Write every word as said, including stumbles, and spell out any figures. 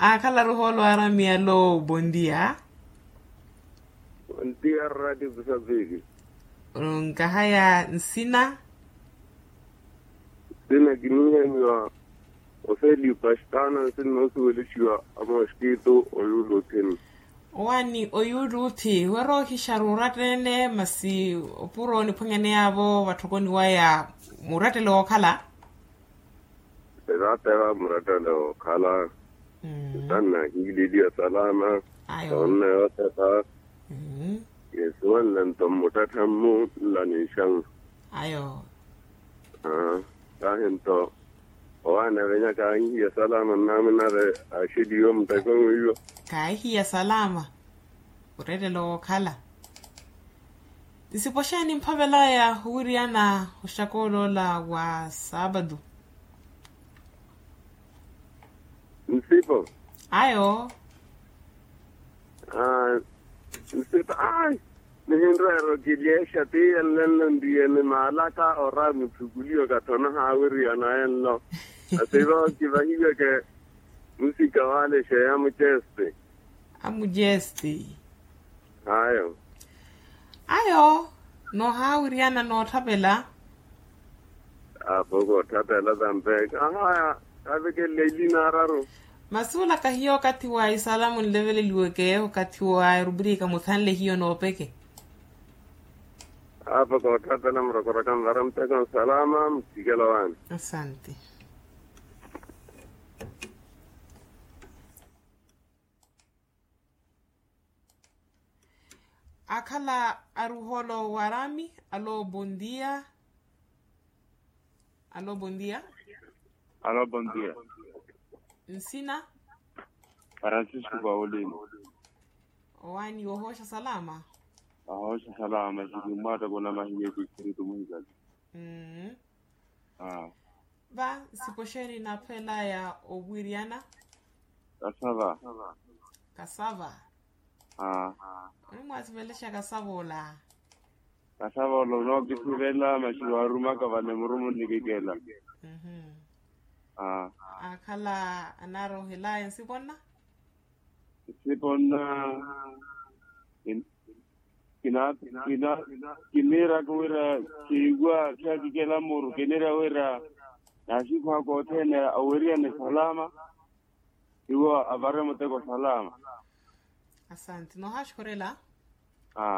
Aakhala ruhoolo aramiya lo bondia. Bondia rati kusapiki. Nkahaya nsina. Nsina kinihemiwa ofeli pastana nsina osuwelexiwa amoskitu oyuluthini. Owani oyuluthi weroohixa ruurattene masi opuro oniphwanyaneya avo vatthokoni waya murattele wookhala. Eratera murattele wookhala. Ntanna hiililiya salama. Ayo. Tonne yosefa. Yesuwanle nto mmuttathammu nlanixan. Ayo. Kahi nto owaana venya kaahihiya salama nnamunare axeliwe muteko mwiiwo. Kaahihiya salama. Orettelo wookhala. Nsipo xeeni mphavelaya owiriyana oxakooloola wa saapatu? Nsipo. Ayo. Nsipo ai. Nihinrweero kilyeexa tiiye nlenlo nriyeni maalaka ora muthukuliwe okathi onahaawiriyana enlo. Nsipo kivahiweke musika wale xeeya mucesti. Amujesti. Ayo. Ayo. Nohaawiriyana nootthapela. Apo kootthapela tampeka ahaya. Kavekelela ilina araru. Masi olaka hiyo okathi wa isalamu nleveleliweke okathi wa erupirika muthanle hiyo noopeke. Apo kootthapela murokoraka nvara muteko nsalama muthikela waani. Asante. Akhala aruholo warami. Alo bondia. Alo bondia. Alo bondia. Nsina. Francisco paulino. Owani wohosha salama. Ahoosha salama sili mwaata kuna mahiye ku espiritu muhikali. Va nsipoxeni naphwelaya owiryana. Kasava. Kasava. Onimwasivelexa kasava ola. Kasava ola onookisivela maxi waarumaka vale murumu nnikikela. Akhala anaarohelaya nsiponna. Nsiponna. Kina kina kiniiraka wira kiiwa khiyakikela muru kiniira wira. Naaxikhwaka othene aweriyane salama. Iwo avare muteko salama. Asante nohaxukhurela.